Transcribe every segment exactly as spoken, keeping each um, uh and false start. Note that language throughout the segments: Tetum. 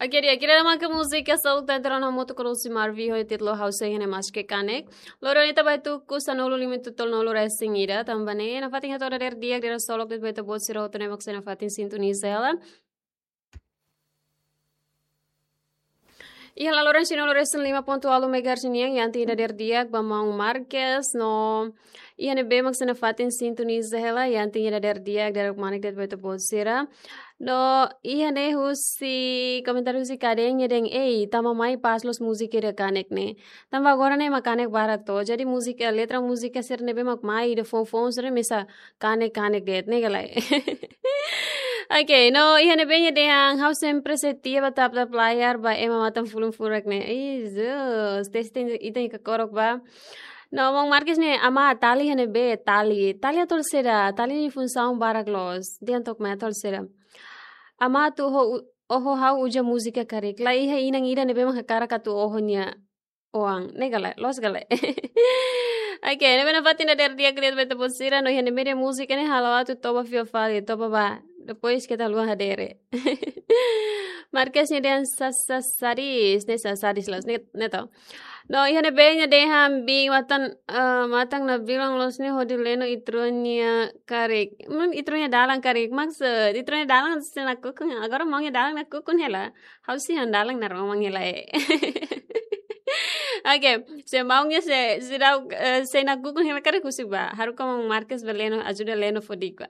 Oke, di'ak, ida-ne'e mak múzika seluk ita rona hamutuk ho Lucy Marvi ho títulu Ha'u Sei Iha Ne'e Maske Kanek. Loron ita bá tuku sanulu-lima to'o tolunulu-resin-ida, tanba ne'e nafatin hato'o dadeer di'ak, dadeer solok de'it ba ita-boot sira hotu ne'ebé mak sei nafatin sintoniza hela. Iha laloran sanulu-resin-lima pontu ualu megahertz nian, iha ita dadeer di'ak ba maun Marques, no iha ne'ebé mak sei nafatin sintoniza hela, iha ita dadeer di'ak, dadeer kmanek de'it ba ita-boot sira. No iha ne'e husi komentáriu husi kadein nia dehan, "Ei, tama mai pas loos múzika ida kanek ne'e. Tanba agora ne'e mak kanek barak to. Jadi múzika, letra múzika sira ne'ebé mak mai ida foun-foun sira mesak kanek-kanek de'it ne'e ka lae." Oke, no iha ne'ebé nia dehan, "Ha'u sempre setia ba tap-tap layar ba ema matan fulun furak ne'e." Ih, Jesus, teste ita-nia kakorok ba. No maun Marques ne'e, "Amá, tali iha ne'ebé, tali. Tali atu halo saida, tali nia funsaun barak loos." Dehan took mai atu halo saida. "Amá, atu oho, oho ha'u uza múzika karik. La iha inan ida ne'ebé mak hakarak atu oho nia oan." Ne'e ka lae, loos ka lae. Oke, ne'ebé nafatin dadeer di'ak de'it ba ita-boot sira, no iha ne'ebé nia múzika ne'e halo atu toba fila fali, toba bá. Depois keta haluha hadeer. Marques nia dehan sa-, sa-, sadis, ne'e sa-, sadis loos, ne'e, ne'e to. No iha ne'ebé nia dehan, "Biin matan, eh, matan nabilan loos ne'e hodi leno ita-rua nia karik." Maun, ita-rua nia dalan karik. Maksud, ita-rua nia dalan sei nakukun, agora maun nia dalan nakukun hela. Ha'u sei han dalan naroman hela, eh. Oke, se maun nia sei, sei dau, eh, sei nakukun hela karik husik bá. Haruka maun Marques bá leno, ajuda leno fó di'ak bá.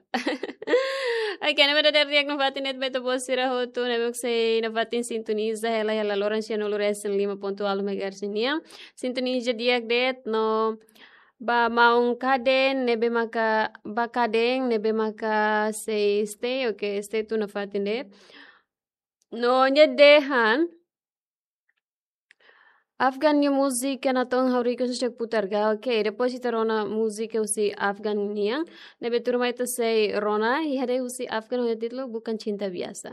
Oke, ne'ebé dadeer di'ak nafatin de'it ba ita-boot sira hotu ne'ebé mak sei nafatin sintoniza hela iha laloran sanulu-resin-lima pontu ualu megahertz nian. Sintoniza di'ak de'it no ba maun kadein ne'ebé maka, ba kadein ne'ebé maka sei stay, oke, stay tun nafatin de'it. No nia dehan, Afgan nia múzika natoon ha'u request sek putar ga. Oke, depois ita rona múzika husi Afgan nian. Ne'ebé tuirmai ita sei rona, iha de'it husi Afgan ho títulu Bukan Cinta Biasa.